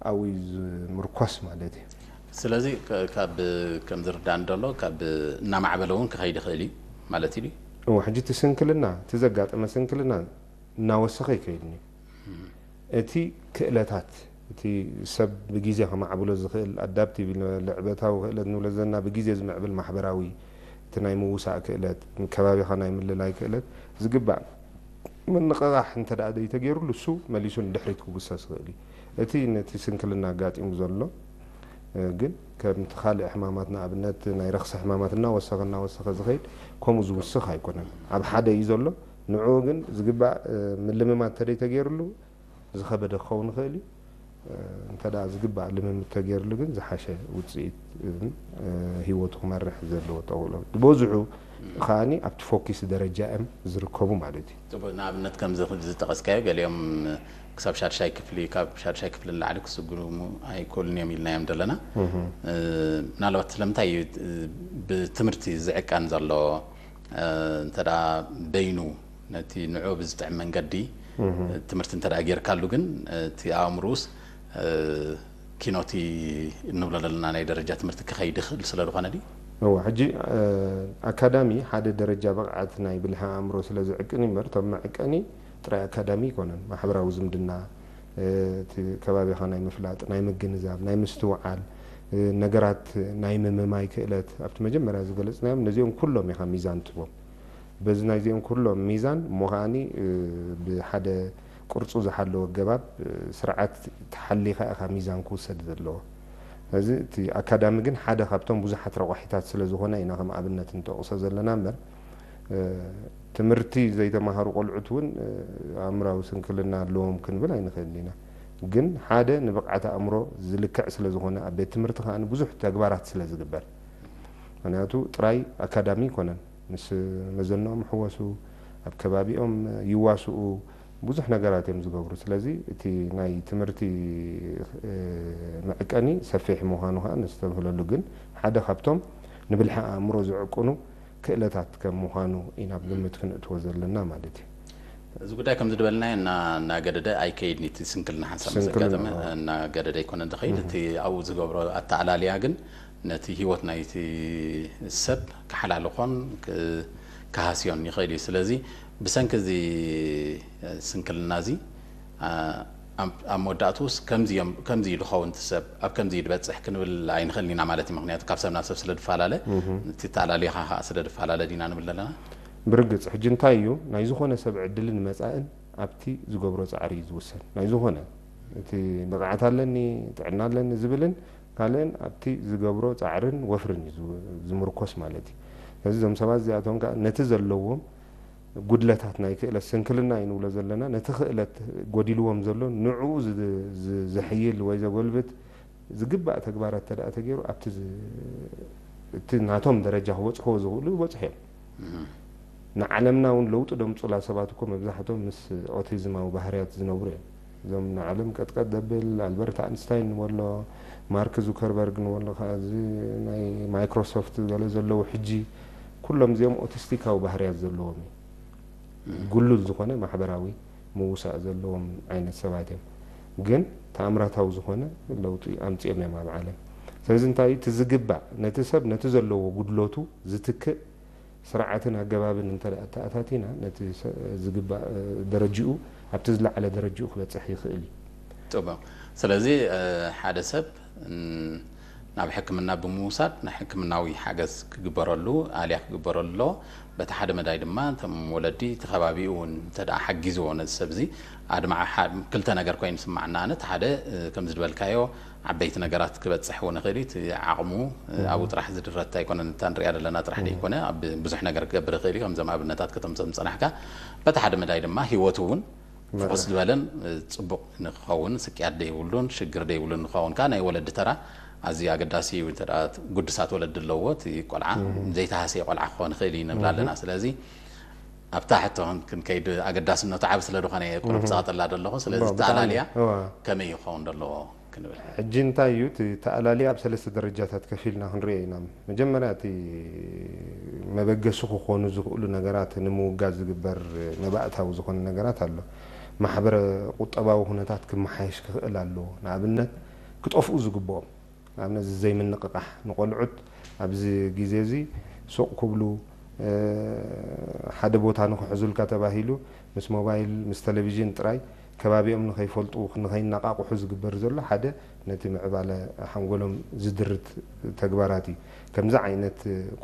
ኣብኡ እዩ ዝምርኮስ ማለት እዩ። ስለዚ ከ- ካብ ከም ዝርዳእኒ ዘሎ ካብ እናማዕበለ እውን ክኸይድ ይኽእል እዩ ማለት እዩ። እዎ፣ ሕጂ እቲ ስንክልና፣ እቲ ዘጋጠመ ስንክልና እናወሰኸ ይከይድ እዩ። እቲ ክእለታት፣ እቲ ሰብ ብግዜ ከማዕብሎ ዝኽእል ኣዳፕቲቭ፣ ልዕበታዊ ክእለት ንብሎ ዘለና፣ ብግዜ ዝምዕብል ማሕበራዊ፣ እቲ ናይ ምውሳእ ክእለት፣ ከባቢኻ ናይ ምልላይ ክእለት፣ ዝግባእ ምንቕቓሕ እንተ ደኣ ዘይተገይሩሉ፣ እሱ መሊሱ ንድሕሪት ክጉሰስ ይኽእል እዩ። እቲ ነቲ ስንክልና ኣጋጢሙ ዘሎ ግን ከምቲ ካልእ ሕማማት፣ ንኣብነት ናይ ረኽሲ ሕማማት እናወሰኸ እናወሰኸ ዝኸይድ፣ ከምኡ ዝውስኽ ኣይኮነን። ኣብ ሓደ እዩ ዘሎ። ንዕኡ ግን ዝግባእ ምልምማድ እንተደይ ተገይሩሉ ዝኸበደ ክኸውን ይኽእል እዩ። እንተ ደኣ ዝግባእ ልምምድ ተገይሩሉ ግን ዝሓሸ ውፅኢት፣ ህይወቱ ክመርሕ ዘለዎ ተኽእሎ ዝበዝሑ ከዓኒ ኣብቲ ፎኪስ ደረጃ እዮም ዝርከቡ ማለት እዩ። ጽቡቅ። ንኣብነት ከምዚ ዝጠቐስካዮ ገሊኦም ክሳብ ሻድሻይ ክፍሊ፣ ካብ ሻድሻይ ክፍሊ ንላዕሊ ክስጉሙ ኣይክእሉን እዮም ኢልናዮም ዘለና። ምናልባት ስለምንታይ እዩ ብትምህርቲ ዝዕቀን ዘሎ? እንተ ደኣ በይኑ ነቲ ንዕኡ ብዝጥዕም መንገዲ ትምህርቲ እንተ ደኣ ጌርካሉ ግን እቲ ኣእምሮኡስ ኪኖቲ እንብሎ ዘለና ናይ ደረጃ ትምህርቲ ክኸይድ ይኽእል ስለ ዝኾነ ድዩ? እወ፣ ሕጂ ኣካዳሚ ሓደ ደረጃ ብቕዓት ናይ ብልሒ ኣእምሮ ስለ ዝዕቅን እዩ እምበር፣ እቶም መዕቀኒ ጥራይ ኣካዳሚ ኣይኮነን። ማሕበራዊ ዝምድና፣ እቲ ከባቢኻ ናይ ምፍላጥ፣ ናይ ምግንዛብ፣ ናይ ምስትውዓል፣ ነገራት ናይ ምምማይ ክእለት፣ ኣብቲ መጀመርያ ዝገለጽናዮም ነዚኦም ኩሎም ኢኻ ሚዛን ትቦም። በዚ ናይዚኦም ኩሎም ሚዛን እሞ ከዓኒ ብሓደ ቅርጹ ዝሓለወ ኣገባብ ስርዓት ተሓሊኻ ኢኻ ሚዛን ክውሰድ ዘለዎ። ስለዚ እቲ ኣካዳሚ ግን ሓደ ካብቶም ብዙሓት ረቋሒታት ስለ ዝኾነ ኢና ከም ኣብነት እንጠቕሶ ዘለና እምበር ትምህርቲ ዘይተማሃሩ ቆልዑት እውን ኣእምራዊ ስንክልና ኣለዎም ክንብል ኣይንኽእልን ኢና። ግን ሓደ ንብቕዓት ኣእምሮ ዝልክዕ ስለ ዝኾነ ኣብ ቤት ትምህርቲ ከኣ ብዙሕ ተግባራት ስለ ዝግበር ምክንያቱ ጥራይ ኣካዳሚ ኣይኮነን። ምስ መዘንኦም ይሕወሱ፣ ኣብ ከባቢኦም ይዋስኡ፣ ብዙሕ ነገራት እዮም ዝገብሩ። ስለዚ እቲ ናይ ትምህርቲ መዕቀኒ ሰፊሕ ምዃኑ ከዓ ነስተብህለሉ። ግን ሓደ ካብቶም ንብልሒ ኣእምሮ ዝዕቅኑ ክእለታት ከም ምዃኑ ኢና ኣብ ግምት ክንእትዎ ዘለና ማለት እዩ። እዚ ጉዳይ ከምዚ ዝበልናዮ እና እናገደደ ኣይከይድን እቲ ስንክልና ሓንሳብ ምስ ኣጋጠመ እናገደደ ኣይኮነን ዝኸይድ። እቲ ኣብኡ ዝገብሮ ኣተኣላልያ ግን ነቲ ህይወት ናይቲ ሰብ ክሓላልኾን ክሃስዮን ይኽእል እዩ። ስለዚ ብሰንኪ እዚ ስንክልና እዚ ኣብ መወዳእትኡስ ከምዚ እዩ ዝኸውን እቲ ሰብ ኣብ ከምዚ እዩ ዝበፅሕ ክንብል ኣይንኽእልን ኢና ማለት እዩ። ምክንያቱ ካብ ሰብ ናብ ሰብ ስለ ዝፈላለ እቲ ኣተኣላልያኻ ከዓ ስለ ዝፈላለ ዲና ንብል ዘለና። ብርግፅ ሕጂ እንታይ እዩ ናይ ዝኾነ ሰብ ዕድልን መፃእን ኣብቲ ዝገብሮ ፃዕሪ እዩ ዝውሰን። ናይ ዝኾነ እቲ ብቕዓት ኣለኒ ጥዕና ኣለኒ ዝብልን ካልእን ኣብቲ ዝገብሮ ፃዕርን ወፍርን እዩ ዝምርኮስ ማለት እዩ። ስለዚ እዞም ሰባት እዚኣቶም ከዓ ነቲ ዘለዎም ጉድለታት ናይ ክእለት ስንክልና እዩ ንብሎ ዘለና ነቲ ክእለት ጎዲልዎም ዘሎ ንዕኡ ዘሕይል ወይ ዘጎልብት ዝግባእ ተግባራት እንተ ደኣ ተገይሩ ኣብቲ እቲ ናቶም ደረጃ ክበፅሕዎ ዝኽእሉ ይበፅሑ እዮም። ንዓለምና እውን ለውጢ ደምፁላ ሰባት እኮ መብዛሕቶም ምስ ኦቲዝማዊ ባህርያት ዝነብሩ እዮም። እዞም ንዓለም ቀጥቀጥ ደብል ኣልበርት ኣንስታይን ንበሎ ማርክ ዙከርበርግ ንበሎ ከዓ እዚ ናይ ማይክሮሶፍት ገለ ዘለዉ ሕጂ ኩሎም እዚኦም ኦቲስቲካዊ ባህርያት ዘለዎም እዩ። ጉሉል ዝኾነ ማሕበራዊ ምውሳእ ዘለዎም ዓይነት ሰባት እዮም። ግን ተኣምራታዊ ዝኾነ ለውጢ ኣምፂኦም እዮም ኣብ ዓለም። ስለዚ እንታይ እቲ ዝግባእ ነቲ ሰብ ነቲ ዘለዎ ጉድለቱ ዝትክእ ስርዓትን ኣገባብን እንተ ኣተኣታቲና ነቲ ዝግባእ ደረጅኡ ኣብቲ ዝለዓለ ደረጅኡ ክበፅሕ ይኽእል እዩ። ጥቡቕ። ስለዚ ሓደ ሰብ ናብ ሕክምና ብምውሳድ ናይ ሕክምናዊ ሓገዝ ክግበረሉ ኣልያ ክግበረሉ ኣለዎ። በቲ ሓደ መዳይ ድማ እቶም ወለዲ እቲ ከባቢኡ እውን እንተ ደኣ ሓጊዝዎ ነዚ ሰብ እዚ ኣድማዒ ክልተ ነገር ኮይኑ ይስማዓና። ኣነ እቲ ሓደ ከምዚ ዝበልካዮ ዓበይቲ ነገራት ክበፅሕ እውን ይኽእል እዩ። እቲ ዓቕሙ ኣብኡ ጥራሕ ዝድረታ ኣይኮነን እታ ንሪኣ ዘለና ጥራሕ ደይኮነ ኣብ ብዙሕ ነገር ክገብር ይኽእል እዩ። ከምዞም ኣብነታት ከተምፅኦም ዝፀናሕካ በቲ ሓደ መዳይ ድማ ህይወቱ እውን ፍኹስ ዝበለን ፅቡቕ ንክኸውን ስቅያት ደይብሉን ሽግር ደይብሉን ንክኸውን ከዓ ናይ ወለዲ ተራ ኣዝዩ ኣገዳሲ እዩ። እንተ ግዱሳት ወለዲ ኣለዎ እቲ ቆልዓ ዘይተሃስየ ቆልዓ ክኸውን ይኽእል እዩ ንብል ኣለና። ስለዚ ኣብታ ሕቶ ክንከይድ ኣገዳስነቱ ዓብ ስለ ዝኾነ ቁሩብ ጸቕጥላ ዘለኹ። ስለዚ ተኣላልያ ከመይ ክኸውን ዘለዎ ክንብል። ሕጂ እንታይ እዩ እቲ ተኣላልያ ኣብ ሰለስተ ደረጃታት ከፊልና ክንሪኦ ኢና። መጀመርያ እቲ መበገሲ ክኾኑ ዝኽእሉ ነገራት ንምውጋድ ዝግበር መባእታዊ ዝኾነ ነገራት ኣሎ። ማሕበረ ቁጠባዊ ኩነታት ክመሓየሽ ክኽእል ኣለዎ። ንኣብነት ክጠፍኡ ዝግብኦም። ኣብነት እዚ ዘይምንቕቓሕ፣ ንቆልዑት ኣብዚ ግዜ እዚ ሱቕ ክብሉ ሓደ ቦታ ንክሕዙልካ ተባሂሉ ምስ ሞባይል ምስ ቴሌቪዥን ጥራይ ከባቢኦም ንኸይፈልጡ ንኸይነቓቕሑ ዝግበር ዘሎ ሓደ ነቲ ምዕባለ ሓንጎሎም ዝድርት ተግባራት እዩ። ከምዚ ዓይነት